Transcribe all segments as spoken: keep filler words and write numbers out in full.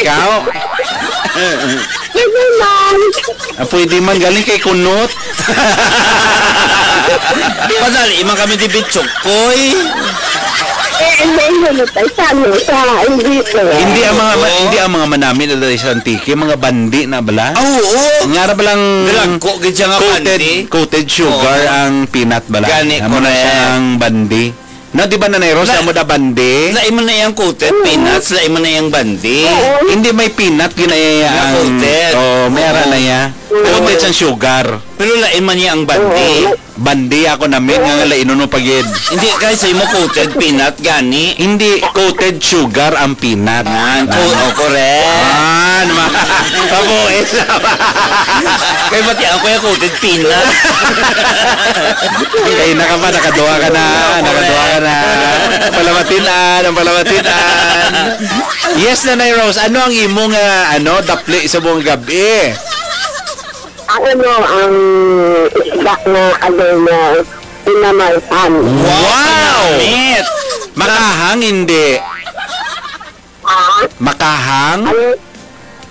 Ikaw? Pwede man. Ah, pwede man. Galing kay Kunot. Padali man kami di bitsukoy. Eh, hindi, hindi, tay, sa ano, sa, hindi, tay. Hindi ang mga ma-, Oo. hindi ang mga manami na dali sa Antique, mga bandi na bala. Ah, oo. Nga ra balang Dalagko gid siya nga coated, bandi. Coated sugar Oo. ang peanut bala. Gani, amo na siya correct. Ang bandi. Na, di ba, Nanay Rose, La-, amo da bandi? Lain man na yang coated Oo. peanuts, lain man na yang bandi. Oo. Hindi may peanut, gina-, Nga ang, coated. Oo, may ara Oo. na iya. Oo. Coated sang sugar. Pero lain man niya ang bandi. Oo. Bandi ako namin, nga lain nuno pa gid. Hindi, kay sa imo coated peanut, gani. Hindi, coated sugar ang peanut. Yan, co-, oh, correct. Ah, naman. Kabuhi sa Kay pati ako yung coated peanut. Kay naka pa, nakaduha ka na, Oo, nakaduha ka correct. na. Ang palamatian, ang palamatian. Yes, Nanay Rose, ano ang imo nga, ano, dapli sa buong gabi? Ang ano, ang isda nga, ano, nga pinamalhan. Wow! Wow! Makahang, hindi. Ah? Makahang? Ano?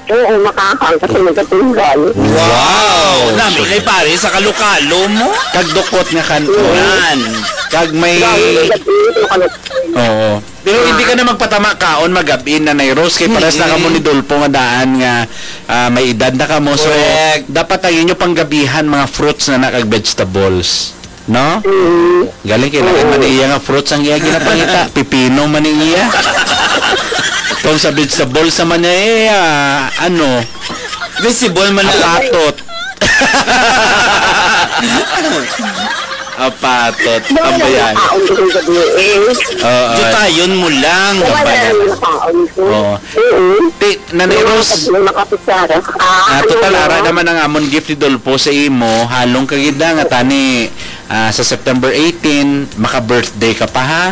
Oo, makahang kasi nagkatunggal. Wow! Wow! Nami na pare sa kalokalo mo. Kag dukot nga kan-on. Yan. Kag may Dahil nagkatunggal, nagkatunggal. Oo. Pero hindi ka na magpatama kaon magabi, Nanay Rose, kay pares na kamo ni Mm-mm. Dolpo nga daan nga, ah, may edad na kamo. So, Correct. dapat ang inyo panggabihan, mga fruits na na kag vegetables. No? Mm. Galing kay lain man iya nga fruits ang iya ginapangita. Pipino man ni iya. Kung sa vegetable sa man niya, eh, ah, ano? Vegetable man na. Apatot. Apatot. Wala Tambayan. Nakaon ko sa gabi, eh. Oo. Jutayon mo lang. Wala Tambayan. Nakaon ko. Oo. Oo. Ti-, Nanay Yung mga Rose. Pag-, yung mga kutsara. Ah, Ah, ano total, mo? Ara naman ang amon gift ni Dolpo sa imo. Halong ka gid na nga tani, ah, sa September eighteen, maka-birthday ka pa, ha?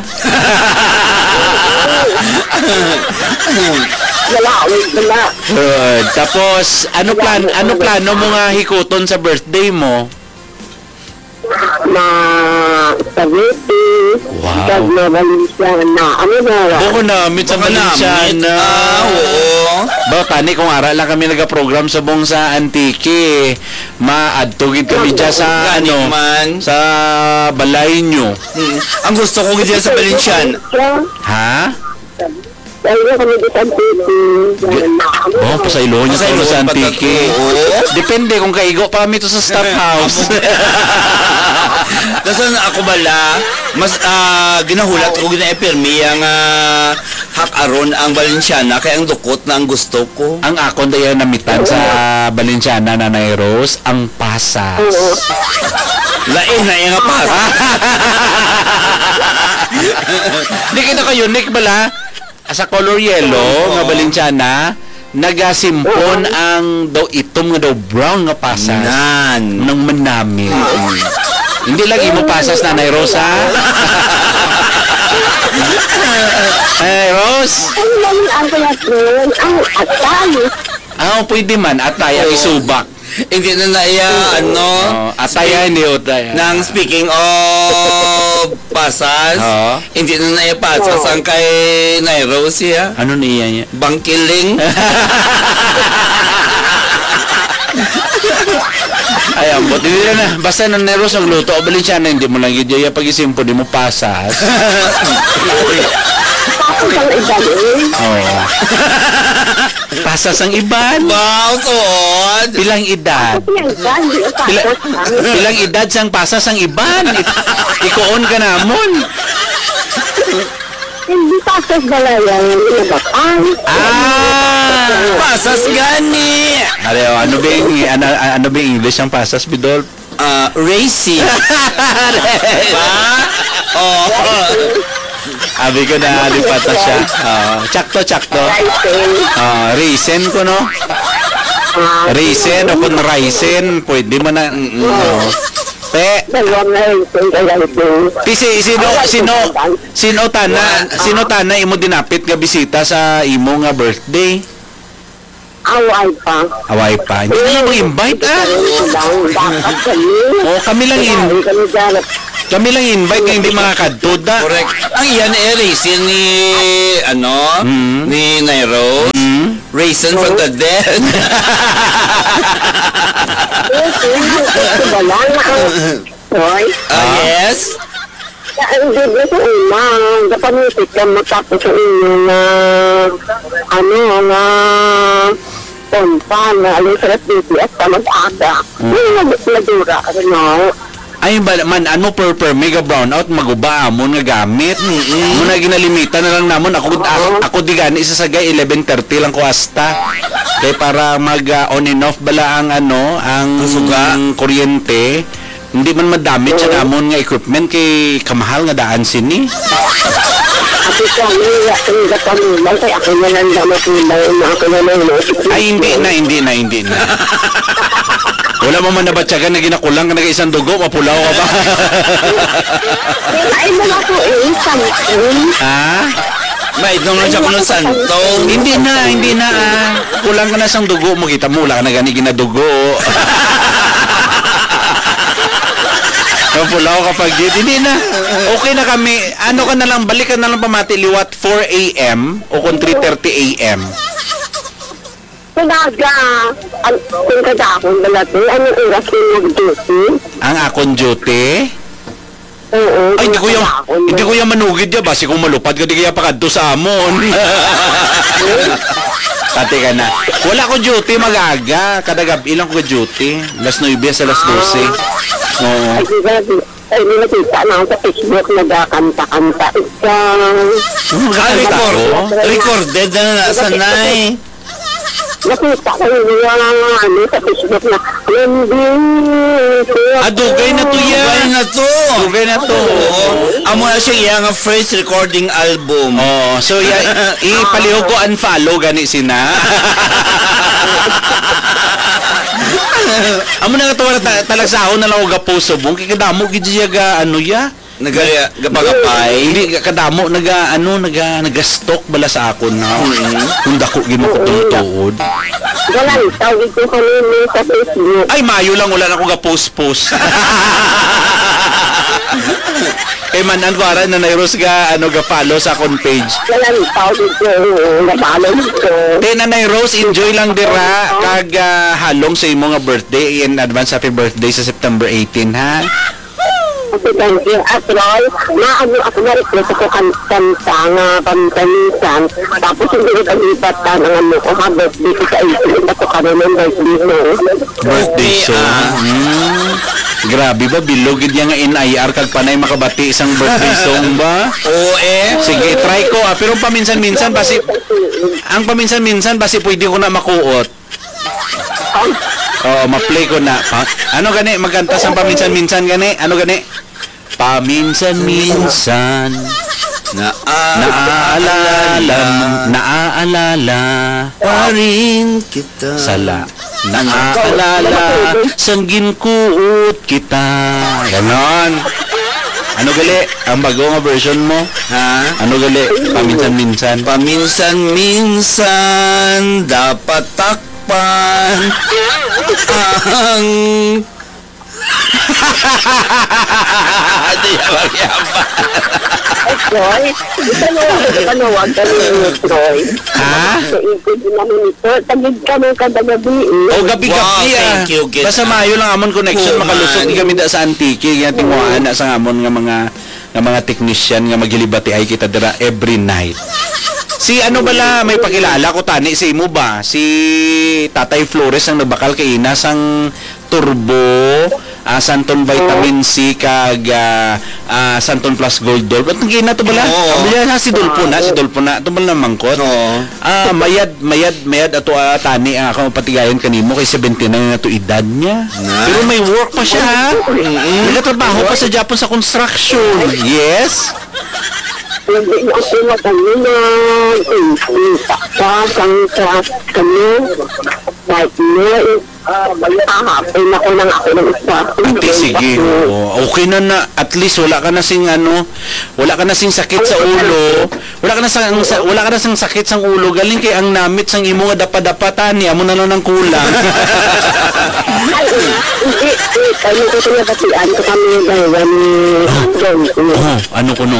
Wala, wala. Good. Tapos, ano Wala, plan-, wala. ano plano mo nga hikuton sa birthday mo? Ma-, spaghetti, Wow. kag ma-Valenciana. Ano na? Baka namit sa Baka namit. Valenciana. Ah, oo. Ba, tani kung ara lang kami nagaprogram subong sa Antique, maadto gid kami Oo. dyan sa, Gani ano, man. sa balay nyo. Mm. Ang gusto ko gid dyan sa Valenciana. Ha? Kaya kami di sa Antique. Di-, oh, pasayloon niya Pasayloon sa pa Antique. ta-, oo. Depende kung kaigo pa kami to sa staff house. Tapos na ako bala, mas, ah, ginahulat ko, ginaipirmi ang, ah, hak-aron ang Valenciana, kay ang dukot na ang gusto ko. Ang akon daya namitan sa Valenciana, Nanay Rose, ang pasas. Oo. Lain na yung pasas. Di kita ka unique bala? Sa color yellow Oo. nga Valenciana, nagasimpon Oo. ang daw itom nga daw brown nga pasas. Nan. Nang manami. Oo. Hindi lang imo pasas, Nanay Rose, ha? Nanay Rose? Ang lain ang kaya, Trin, ang atay. Ah, pwede man. Atay ang Oo. isubak. Hindi na na iya, Oo. ano, Oh, atay, speak-, hindi utay. nang speaking of pasas, Oo. hindi na na iya pasas Oo. ang kay Nay Rose, ya. Ano niya niya? Bangkiling. Ay, ambot. Hindi na na. Basta nang Nay Rose nagluto, o Valenciana, hindi mo lang yun, ya, pag-isimpo, di mo pasas. Tapos ang iba, eh. Oo. Pasas ang iban. Wow, tuod. Pilang edad? Kasi ang iba, hindi ang Pila, pasas, ah. pilang edad sang pasas ang iban? Ik-, ikuon ka namon. Hindi pasas bala yan, hindi na bakal. Ah! Pasas gani. Are, oh, ano ba yung, ano, ano ba yung English ng pasas, Bidol? Ah, raisin. Ba? Oh. Abi ko na, lipat na siya. Oh, tsakto, tsakto. Raisin. Oh, raisin ko, no? Ah, Raisin o kung raisin, pwede mo na. Mm, oh. Pe, Dalawang raisin, kay raisin. Ti, si, sino, Ay, sino, sino tana, One, sino ah. tana imo dinapit nga bisita sa imo nga birthday? Away pa. Away pa. Hindi na mo invite, ah. Hindi lang, dapat kami. Oh, kami lang in-, Kami, kami dapat. kami lang invite nga hindi makakadto, da. Correct. Ang iyan, eh, raisin ni, ano, Mm. ni Nairo. Mm. Raisin. Jason from the dead. Yes, yes, yes, yes, wala na ang, hoy. Ah, Ah? Yes? Ang ganda sa una, gapamitik ka mo tapos sa inyo na, ano, nga, pompa na alas tres D P S pa mag-aga. Mm. Yung nag-, nagdura, ano? Ay, ba man, ano, per, per mega brownout, maguba amon nga gamit. Mm-mm. Muna ginalimitan na lang namon. Ako, Oo. ako, ako di gani sa sagay, eleven thirty lang ko hasta. Kay para mag, ah, on and off bala ang, ano, ang Ang suga. kuryente. Hindi man madamit sa Oo. namon nga equipment kay kamahal nga daan sini. Ako sa mga, ang gapamilan, kay ako na lang daw matulay, na ako na lang, no? Ay, hindi na, hindi na, hindi na. Wala mo man nabatyagan na ginakulang ka na isang dugo, mapulaw ka ba? Ay, wala ko eh, something. Ha? May nung Ay, sa kuno wala ko santo. Hindi na, hindi na, ah. Kulang ka na sang dugo mo, kita mo, wala ka na gani ginadugo. Mapulaw ka pag gid. Hindi na. Okay na kami. Ano ka na lang, balik ka na lang pamati liwat four A M o kung three thirty A M. Kung aga, an-, kung kadahon bala, te, anong oras yung mag-duty? Ang akon duty? Oo, Ay, hindi kung ko yung, kadahon hindi bala. ko yung manugid ya. Basi kung malupad ka, di kaya pakadto sa amon. Pati ka na. Wala ko duty, mag-aga. Kada gabi lang ko duty. Alas nuebe sa alas dose. Oo. Ay, di ba, di, ay, di nakita na ako sa Facebook, nagkakanta-kanta. Ikaw. Hmm, Ah, nagkakanta record. ko? Recorded na na, sanay. Nakita ko yung mga, ano, sa Facebook na, "Hindi, kuya." Ah, dugay na to, ya. Dugay na to. Dugay na to. Oo. Amo na siya, iya nga first recording album. Oo. So, ya, ipaliho ko, unfollow, gani sina. Amo na nga to, ta-, talagsahon na lang ako gaposo, bong. Kay kadamo, gid siya ga, ano, ya? Nagaya, gapagapay. Hindi, kadamo naga, ano, naga, nagastok bala sa akon, no? Mm. Kung dako gid mo Oo, kung tuod. Wala, tawag ko kanina sa Facebook. Ay, mayo lang, wala na akong ga-post-post. Kay man, ang kuwara, Nanay Rose ga, ano, ga-follow sa akon page. Wala, tawag ko, oo, na-follow ko. Kay Nanay Rose, enjoy lang dira, Oo. kag, ah, halong sa imo nga birthday, in advance happy birthday sa September eighteen, ha? Okay, thank you. At Roy, na ano ako, na-request ako kan-, kanta nga paminsan-minsan. Tapos hindi ko pag-ipat ka ng ano ko, ha, birthday ko sa eighteen. Ba't ko karoon ng birthday mo? Birthday Okay, song. ah. Hmm. Grabe ba, bilog gid yang N I R kag panay makabati sang birthday song ba? Oo, eh. Sige, try ko, ah. Pero paminsan-minsan, basi, ang paminsan-minsan, basi pwede ko na makuot. Oo, ma-play ko na. Pa-, ano gani? Magkanta sang paminsan-minsan gani? Ano gani? Paminsan-minsan. Naaalala. Naaalala. Naaalala. Pa rin kita. Sala. Ano? Naaalala. Sang ginkuot kita. Ganon. Ano gali? Ang bago nga version mo? Ha? Ano gali? Paminsan-minsan. Paminsan-minsan, dapat takpan ang Di ba, Yama? Ay, Troy, ito na lang, ito na, wag ka nang Troy. Ha? Sa ikot din namin ito. Tagig ka ng kada gabi, eh. Oh, gabi-gabi, Wow, ah. thank you, Gid. Basta maayo lang amon connection, Kuman. makalusot kami da sa Antique, kaya tinguhaan na sa amon nga mga, nga mga technician nga maghilibatiay kita dira every night. Si ano bala, may pakilala ko tani sa imo ba? Si Tatay Flores ang nagbakal kay ina sang Turbo, ah, Santon Vitamin C, kag, ah, ah, Santon Plus Gold Dolph. At nagkina to bala? Oo. Pamilya na si Dolpho na, si Dolpho na. Ito bala mangkot? Oo. Ah, mayad, mayad, mayad ato, ah, tani ang akong patigayon kanimo kay seventy-nine na to edad niya. Na? Pero may work pa siya, ha? Mm-mm. Nagatrabaho pa sa Japan sa construction. Yes. Hindi na ako matalinag. Sa, sa, sa, sa, Kahapon ako nang ako ng isa. Ate, sige. Oo. Okay na na. At least wala ka na sing ano, wala ka na sing sakit sa ulo. Wala ka na sa, ang sa-, wala ka na sing sakit sang ulo. Galing kay ang namit sang imo nga dapat-dapat ani, amo na lang ang kulang. Ay, hindi. Eh, kami ko pinabatian ko kami yung dalawa ni Don. Oh, ano ko no?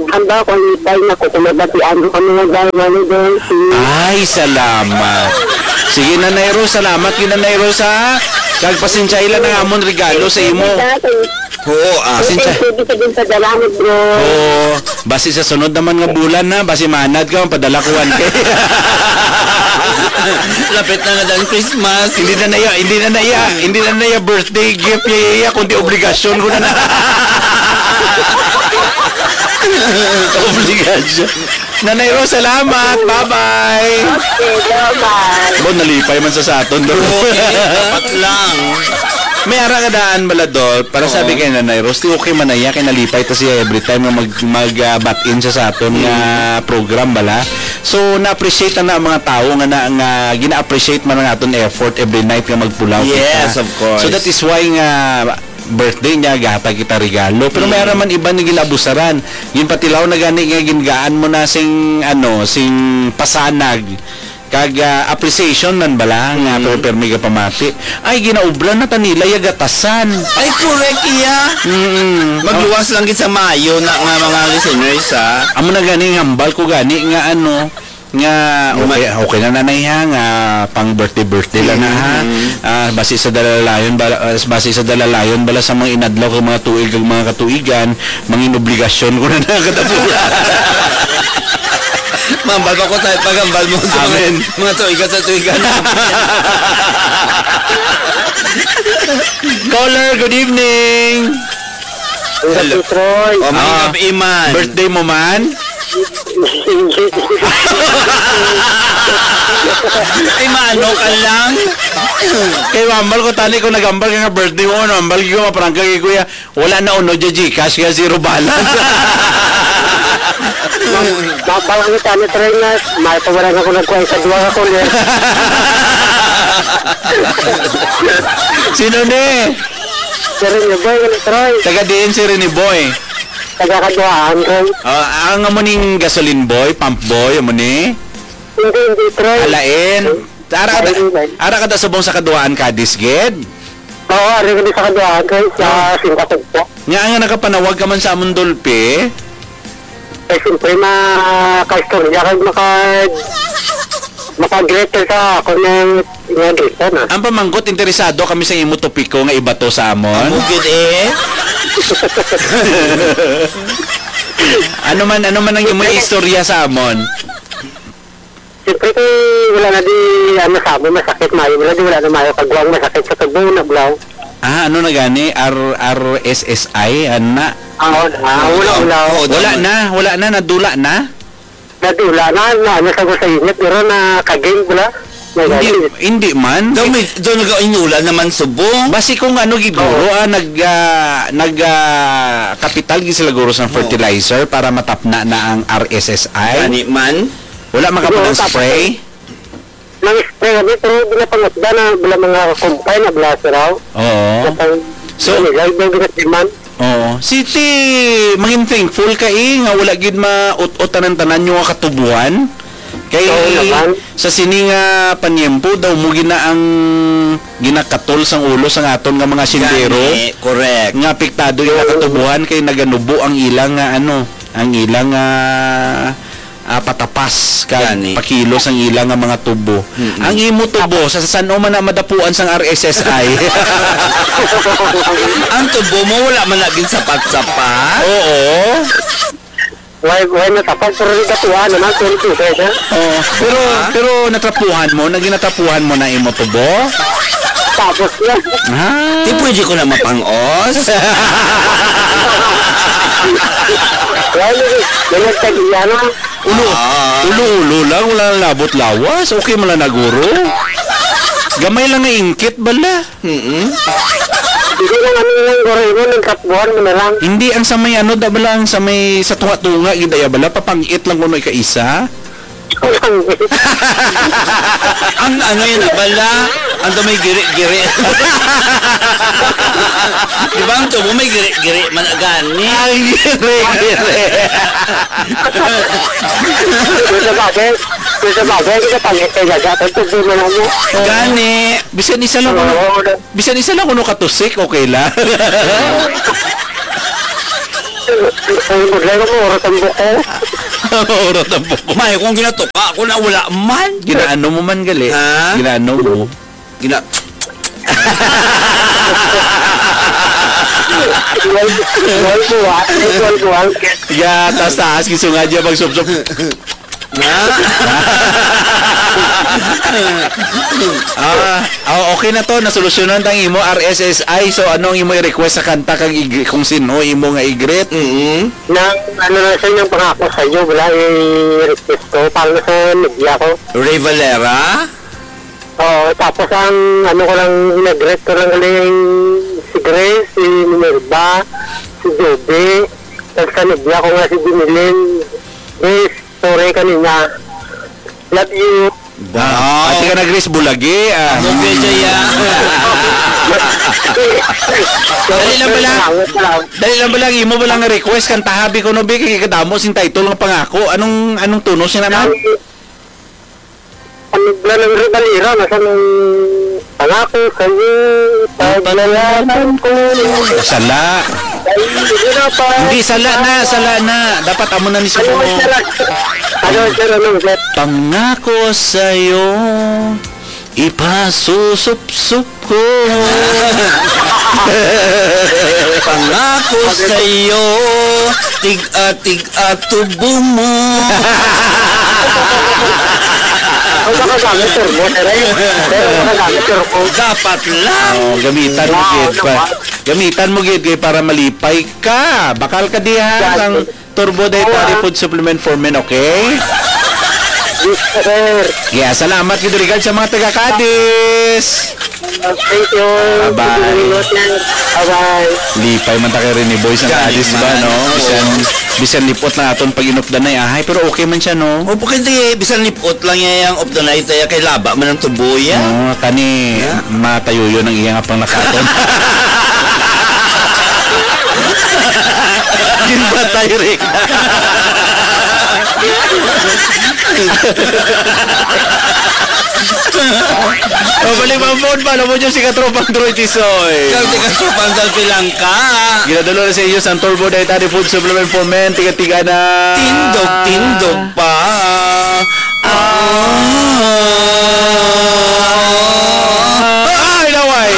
Handa ko, lipay na ko, kung mabatian ko kamo nga dahil, Mami Dulce. Ay, salamat. Sige, Nanay Rose, salamat gid, Nanay Rose, ha? Kag pasensyay lang ang amon regalo sa imo. Oo, ah. Pasensya. Sige, sige, sige, salamat, bro. Oo, basi sa sunod naman nga bulan, ha, basi manad ka, padala ko one K. Lapit na nga ang Christmas. Hindi na naya, hindi na naya, hindi na naya birthday gift, iya, iya, kundi obligasyon ko na na. Obligasyon. Nanay Rose, salamat. Bye-bye. Okay, bye-bye. Bo, nalipay man sa saton, do. Dapat lang. May ara nga daan bala, Dol, para sabi kay Nanay Rose, di okay man na iya, kay nalipay ta siya every time nga mag, mag, ah, bat-in siya sa aton nga program bala. So, na-appreciate na ang mga tawo nga na, nga gina-appreciate man ang aton effort every night nga magpulaw kita. Yes, of course. So, that is why nga birthday niya, gahatag kita regalo. Pero may ara man iba nga ginabusaran. Ginpatilaw na gani nga gingaan mo na sing, ano, sing pasanag. Kag, ah, appreciation man bala nga pero permi ka pamati. Ay, ginaubra na ta nila ya gatasan. Ay, correct iya. Mm. Magluwas lang gid sa maayo na nga mga listeners, ha? Amo na gani, hambal ko gani nga ano, nga okay, okay na, Nanay, ha, nga pang birthday, birthday lang na, ha. Ah, basi sa dalalayon bala, ah, basi sa dalalayon bala sa mga inadlaw kag mga tuig kag mga katuigan, mangin obligasyon ko na nakatapulan. Mambal pa ko tayo, pagambal mo sa mga, mga tuigan sa tuigan. Caller, good evening. Hello. Troy. Oh, may Ah, iman. Birthday mo man? Ay, maano ka lang? Kay mambal ko tani ko nagambal ka nga birthday mo, ano, mambal ko maprangka kay kuya. Wala na uno dya GCash kaya zero balance. Mambal ang tani, Troy, nga may pa wala na ko nagkuha sa duwa ka kulit. Sino ni? Si Rene Boy, ano, Troy? Taga diin si Rene Boy? Taga Kaduhaan, Troy. Ah, ang amo ning gasoline boy, pump boy, amo ni? Hindi, hindi, Troy. Alain. Ara ka da, Hindi, hindi. Ara ka da subong sa Kaduhaan, Cadiz, gid? Oo, ari kami sa Kaduhaan, Troy, sa Ah. Singkatog po. Nga nga nakapanawag ka man sa amon Dolphy? Eh, siyempre, makaistorya kag maka-, maka-greet sa ako ng, ng greet na. Ang pamangkot, interesado kami sa imo topiko nga ibato sa amon. Amo gid eh. Ano man, ano man ang imo istorya sa amon? Siyempre, kung wala na di, ano, sa amon, masakit, mayo, wala di, wala na mayo, kagwang masakit sa tubo, na, bulaw. Ah, ano na gani? R-, R S S I, ana? Ah, wala. Ah, wala, wala. Oo, Wala tama. na, wala na, nadula na? Nadula na, na, ano sa ko sa init, pero na kaging pula. Hindi, hindi man. Daw may, daw nag-inulan naman subong. Basi kung ano gid guro, Oo. ah, nag, ah, nag, ah, kapital gid sila guro sa Oo. fertilizer para matapna na ang R S S I. Gani man. Wala man ka Siguro pa ng tapos spray? Nang spray kami, pero di na pangutda na, bala mga kumpay na, bala siraw. Oo. Kapag So, nilay daw ginatiman. Oo. Siti, mangin thankful ka, eh, nga wala gid maut-ot tanan-tanan yung katubuhan. Kay Oo naman. sa sini nga panyempo daw mo gina ang ginakatol sang ulo sang aton nga mga sindero Gani, correct. nga apektado yung Oo. katubuhan kay naganubo ang ilang nga ano, ang ilang nga ah, patapas kag Gani. pakilos ang ila nga mga tubo. Mm-mm. Ang imo tubo, sa san-o man na madapuan sang R S S I? Ang tubo mo, wala man na ginsapat-sapat? Oo. Why, why na tapag? Pero di katuwa naman, pero di kaya na. Oo. Pero, Ah? pero natrapuhan mo, naging natrapuhan mo na imo tubo? Tapos na. Ah. Di pwede ko na mapangos? Why, may nagtag-iya na. Ulo, Ah. ulo-ulo lang, wala nang labot lawas. Okay man lang na guro. Gamay lang nga ingkit bala. Mm-mm. Hindi lang ano lang, guro, imo nang katbuhan mo na lang. Hindi ang sa may ano, da bala ang sa may sa tunga-tunga, gid aya bala, papangit lang kuno ikaisa. Ang ano yun, bala? Ang may giri-giri. Di ba ang tubo may giri-giri man gani? Ang giri-giri. Kung sa bagay, kung sa bagay, hindi ka pangit kay Gaga, ang tubo na lang mo. Gani, bisan isa lang kuno, Oo, wala. bisan isa lang kuno katusik, okay lang. Ang problema mo, oras ang buko. Oras ang buko. May, kung ginatuka ako na wala man. Ginaano mo man gali? Ha? Ginaano mo? Gina- Wal, wal ko, ah. Wal ko, ah. Ya, taas-taas, gisunga niya magsupsop. Na? Ah, oh, okay na to, nasolusyonan tang imo R S S I. So, ano ang imo i-request sa kanta kag ig-, kung sino imo nga i-greet? Mm-hmm. Nang, ano na siya, yung pangako sa iyo, wala i-request ko. Para sa media ko. Ray Valera? Oo, tapos ang, ano ko lang, i-greet ko lang galing si Grace, si Minerva, si Joby, tapos sa media ko nga si Dinilin. Grace, sorry kanina. Love you. Wow. Ate ka na, Grace, bulagi, ah. Amo, Grace, ay, ah. Dali lang bala. Salamat, salamat. Dali lang bala, imo bala nga request, kantaha bi kuno bi, kay kadamo sing title nga pangako. Anong, anong tono siya naman? Ang, ang Blanang Ribalera, nasa nang pangako sa iyo, paglalaban ko. Sala. Ay, hindi na pa. Hindi, sala na, sala na. Dapat amo na ni Ano, Sumo. Sir? Ano, sir? Ano, sir? Pangako sa'yo, ipasusupsup ko. Pangako sa'yo, tig-a-tig-a tubo mo. Ang makagamit, sir, mo, sir, eh. Pero makagamit, sir, ko. Dapat lang. Oh, gamitan mo, Wow, gid, pa. Naman. Gamitan mo, gid, kay para malipay ka. Bakal ka diha, Yan. Ang Turbo Dietary Food Supplement for Men, okay? Yes, sir. Yeah, salamat gid, regard sa mga taga Cadiz. Thank you. Bye-bye. Bye-bye. Lipay man ta kay Rene Boy sa Cadiz ba, no? Bisan, bisan lipot na aton pag-inupdanay, ahay, pero okay man siya, no? O, pwede, bisan lipot lang niya yung updanay, tayo kay laba man ang tubo, ya. Oo, kani, matayuyo ng iya nga pang nakaton. Ginpatay, Rick. Pabalik ang phone pa, alam mo nyo, si Katropang Troy Tisoy. Ikaw, si Katropang Dalpilangka. Ginadalo na sa inyo sa Turbo Dietary Food Supplement for Men. Tiga-tiga na. Tindog, tindog pa. Ah. Ay, naway.